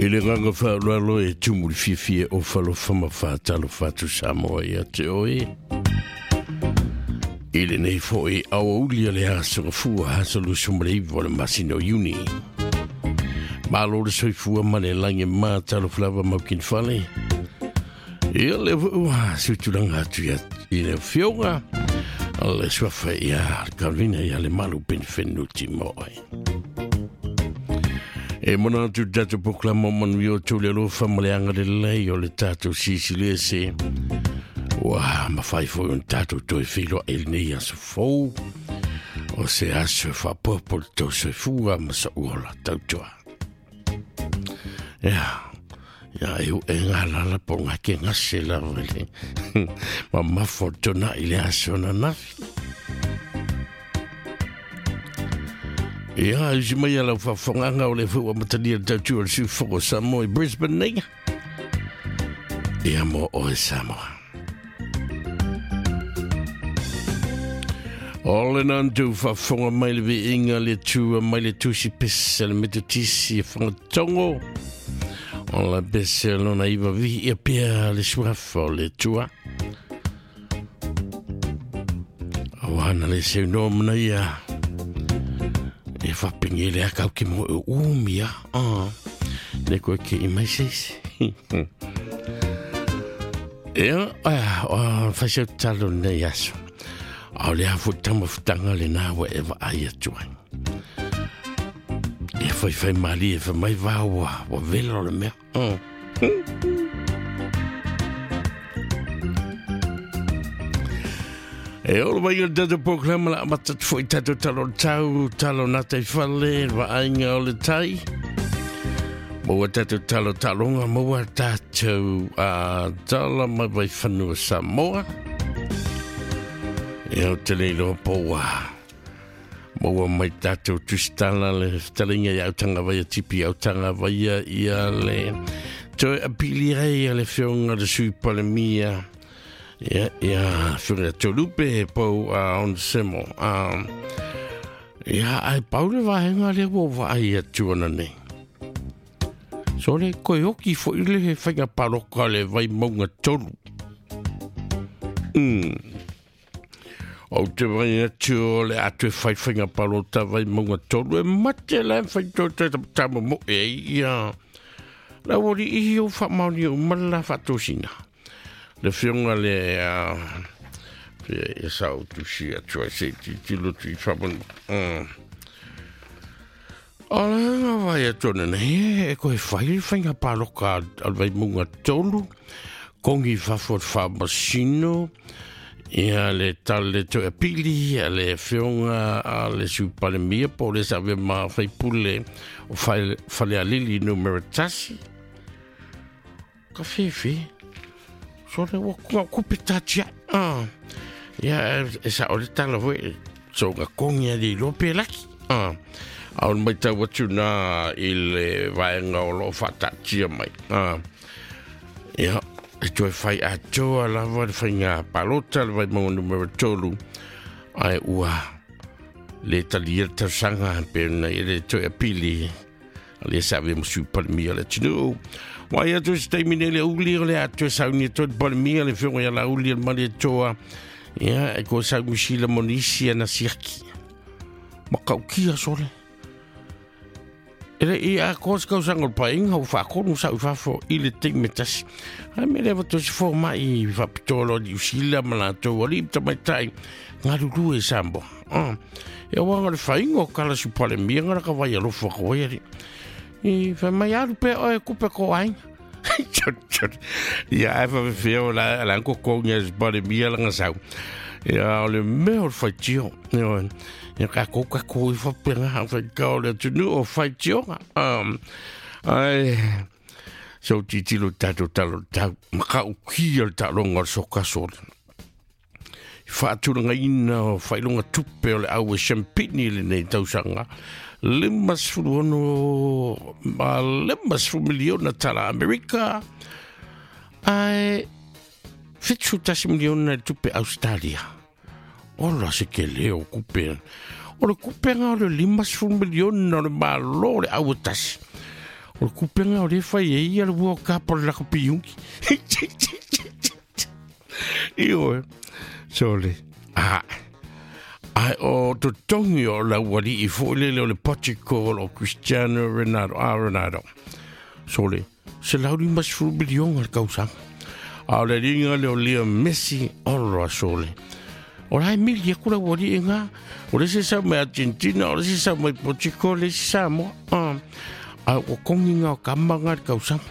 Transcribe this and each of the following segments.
I le agaga faaaloalo e tumu i le fiafia e ofa alofa ma faatalofa atu Samoa ia te oe. I lenei foi aoauli o le aso Gafua, aso 29 o le masina o Iuni. Malo le soifua ma le lagi ma talofa lava maukini fale. Ia le foi ua sutulaga atu ia i le afioga le suafa ia Carolina ia le malu penifenuti mo oe. E mona atu le tatou polokalama o manuia o tou le alofa ma le agalelei o le tatou Silisili Ese. Ua mafai foi ona tatou toe feiloai i lenei aso fou. O se aso e faapopo le tou soifua ma sou ola tautua. Ia, ia e u e ngā lala po ngā ke ngase lava le mamafa o tona i le aso na nafi. Ia, usi mai ala whawhanganga o le fua matalia le tautua o le sufoko Samoa i Brisbane nei. Ia mo oe Samoa. O le nantu whafonga mai le viinga le tua mai le tusi pese le metotisi e whangatongo. O la pese lona iwa vihi ia pia le suafa o le tua. O ana le seu no mana ia. E whapingi le akau ki mo e umia. Ah, le koe ke i mai seisi. Ia, o whai seu talo nei aso. A o le a foi tama futanga le nā ua e vaai atu ai. E whai whai mali e whai mai vā ua, ua vela o le mea. E olo mai o le tatou polokalama la amata atu foi tatou talo o le tau, talo nā tai fale, le vaaiga o le tai. Maua tatou talo taloga, maua tatou tala mai vai whanua Samoa. E au te le iloa po ua maua mai tatou tusitala le fetalinga i autanga vaia tipi autanga vaia ia le toe apili ai a le fionga le sui palemia ia ia fionga tolupe pau a on semo a ia ai pau le vahenga le ua vaai atu ana nei. So le koe oki foi le he whainga paroka le vai maunga tolu. O te vai atu o le atu e whai whainga parota vai maunga tolu e mate la e whai tō te tama mo e ia. La wori ihi o wha maoni o mala whatosina. Le whionga le e sa o tusi atu ai se ti tilo tu i whamanu. O le ngā vai atu ana nei, e koe whai le whainga pāloka al vai munga tolu, kongi whafo te whamasino, ia le tale toe apili, a le whionga a le supalemia, po le sa ve mā whaipule o whale alili numera tasi. Ka whiwhi, so le wa kunga kupe tātia. Ia, e sa o le tala foi, so nga kongi a le iloa pe laki. A o mai tau atu nā i le vaenga o loo whaatatia mai. Ia, e toe whai atoa lava le whainga palota le vai maunga numera tolu. Ai ua le talia le tausaga pe na i le toe apili. A le sa ve musu palemia le tunu. Wai atu se taimi nei le uli o le atu e sauni e toe palemia le whionga ia la uli le mali e toa. Ia, e ko sau musila monisi ana siaki. Makaukia sole. Ele i a ko se kausanga o le paeaiga ua faatonu sa i fafo i le taimi e tasi. Ae mea lea ua toe se fomai i faapitoa loa Niu Sila ma latou alii ma tamaitai galulue i Samoa. E auaga le faiga o kala supalemia ngala ka vai alofa ka vai alii. I fai mai alu pea oe e kupe ko aiga. Ia ae faafefea o la la kokogi a supalemia lana sau. Ia o le mea o le faitio. Ia kākou kākou i faapena faikao le atunuu o faitioga. Ai so titilo tatou talo tau makaukia le taaloga o le sokaso. I faatulagaina o faailoga tupe o le au e Champini lenei tausaga 56 ma 50 miliona tala Amerika ae 71 miliona le tupe Australia. Ola se kele o kupe. O le kupenga o le 50 miliona o le malo o le au e tasi. O le kupega o lea e fai ai ia le World Cup o le lakapi iugi. Ioe. Sole. Ah. Ai o totogi o le aualii foi lele o le Portugal o Cristiano Ronaldo. Ah, Ronaldo. Sole. $150 miliona le tausaga. A o le liga lea o Leo Messi, olo a sole. O la e mili aku le aualii ngā. O le isi sau mai Argentina, o le isi sau mai Portugal, le isi Samoa. Ah. A ua kongi ngā o kama ngā le tausaga.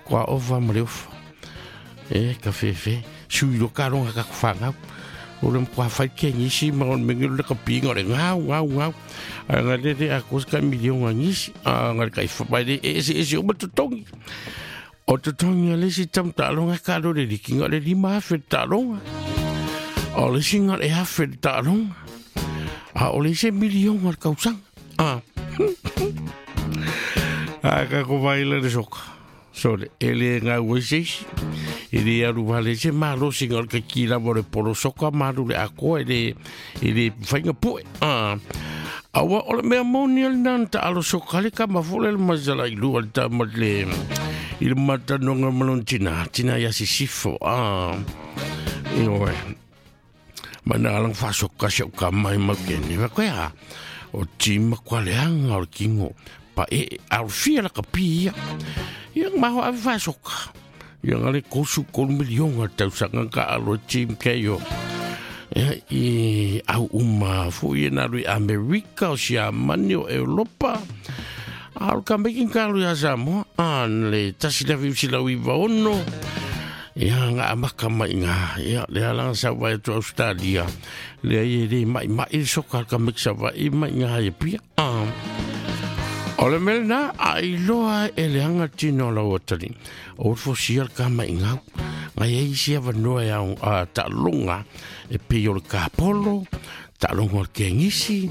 Kua ova ma le ofa. E, ka fefe. Sui lo ka longa ka whangau. O le mkwa whai ke ngisi ma o le mengelo le kapinga o le ngau, ngau, ngau. A ngā le le a kosa ka milionga ngisi. A ngā le kai whapai le e ese ese o ma totongi. O totongi a le si tam talonga ka lo le likinga le 5,000 le talonga. O le singa le 1,000 le talonga. A o le se milionga le kausanga. A. A ka ko vaila le soka. Sole, e le ngau e seisi. E le alu vale se malosi ngā ka ki lava o le polo soka malu le akoa e le whainga poe. Aua o le mea moni al nana ta alo soka le kama fole le mazala i lua le tama le i le matanonga malon tina, tina ia sisifo. Ioe. Mana alang whasoka se o ka mai mau kene. Wa koe a, o tima kwa leanga o le kingo. Pa e, alfia la ka pi ia. Ia maho ave whasoka. Ia ngale kosu kolu milionga tausanga ka alo team keio. Ia i au uma fo ia na lui Amerika o Siamani o Europa. A o ka mekin ka lui a Samoa. A le tasi la fiu sila uiva ono. Ia ngā amaka mai ngā. Ia le alanga sa vai atu Australia. Le ai e le mai mai le soka ka mek sa vai mai ngā ia pia. O le mele nā, a iloa e le anga tino lau atali. O fo sia le ka mai ngau. Ngai ei sia vanoa e au, a, ta'alonga e pei o le kapolo, ta'alonga o le kengisi.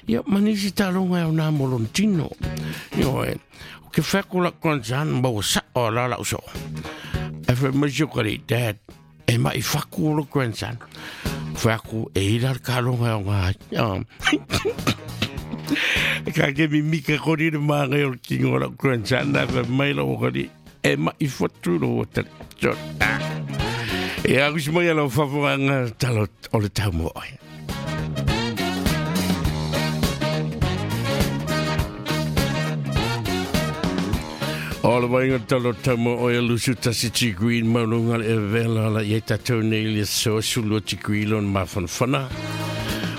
Ia manisi ta'alonga e au nā molon tino. Io e, o ke whako la kwanzan maua sa o la lau so. E whai mai sio kari, Dad, e mai whaku o le grandson. Whaku e ira le kalonga o ngā. Ka ke mi mika kori le māngai o le kingo o lau grandson, nā whai mai lau kari, e mai whatu lo o tari. E aku si mai lau whawhanga talo o le tau mo oe. O le vainga talo tau mo oe lusu tasi ti green maununga le e vela la i tatou nei le so sulu ti green lon mawhanwhana.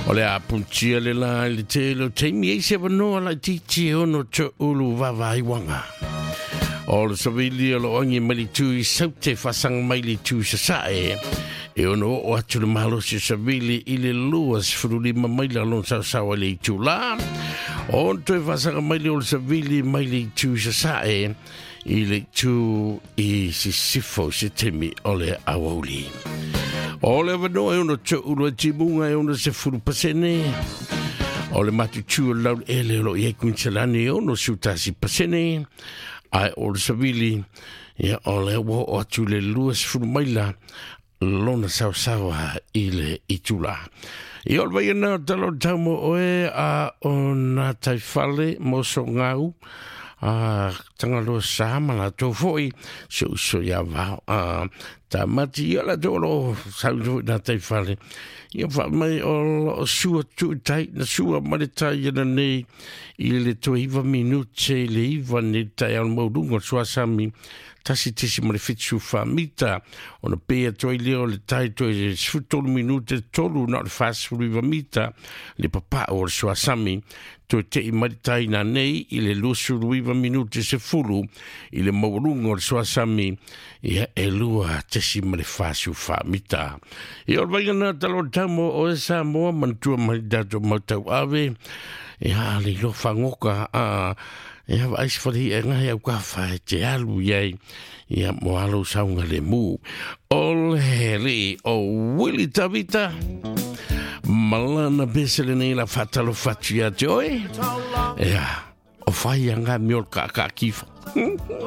O le apuntia le la le te lo teimi e se wanoa la ti ti ono te ulu vavai wanga. O le savili o lo angi mali tu i saute whasanga mai le tu sa sae. E ono o atu le malosi savili i le lua sifurulima mai la lon sao sao le itu la. O toe whasanga mai le o le savili mai le tu sa sae. I le tu i sisifo se temi o le awauli. O le wanoa e ono te ulu e timunga e ono se furu pasene. O le matutu o lau ele o lo i e kuinsalani e ono sutasi pasene. Ai o le savili, ia o le ua o atu le lua se furu maila lona sausawa i le itula. I o le vai ana o talo taumo oe a o nā taiwhale moso ngau. A tangaloa sa ma la tau foi se uso ia vao. A ta mati ia la tau lo sau foi nā taiwhale. Ia wha mai o lo sua tu tai na sua ma le tai ana nei i le toi iwa minute le iwa ne tai al maurunga sua sami tasi tisi ma le whitu wha mita. O na pea toi leo le tai toi sfutolu minute tolu na le whasuru iwa mita le papa o le sua sami. Toi te i mari tai nā nei i le lusuru iwa minute se fulu i le maurunga o le sua sami ia e lua tesi ma le whasu wha mita. I o le vainga nā talo tamo o e Samoa mantua mai dato mautau ave ia le ilo whangoka a ia wa aisi whare e ngahi au ka whae te alu iai ia mo alo saunga le mū. O le hele o Willy Tavita malana besele nei la whatalo whatu ia te oe. Ia, o whai anga miol ka ka kifa.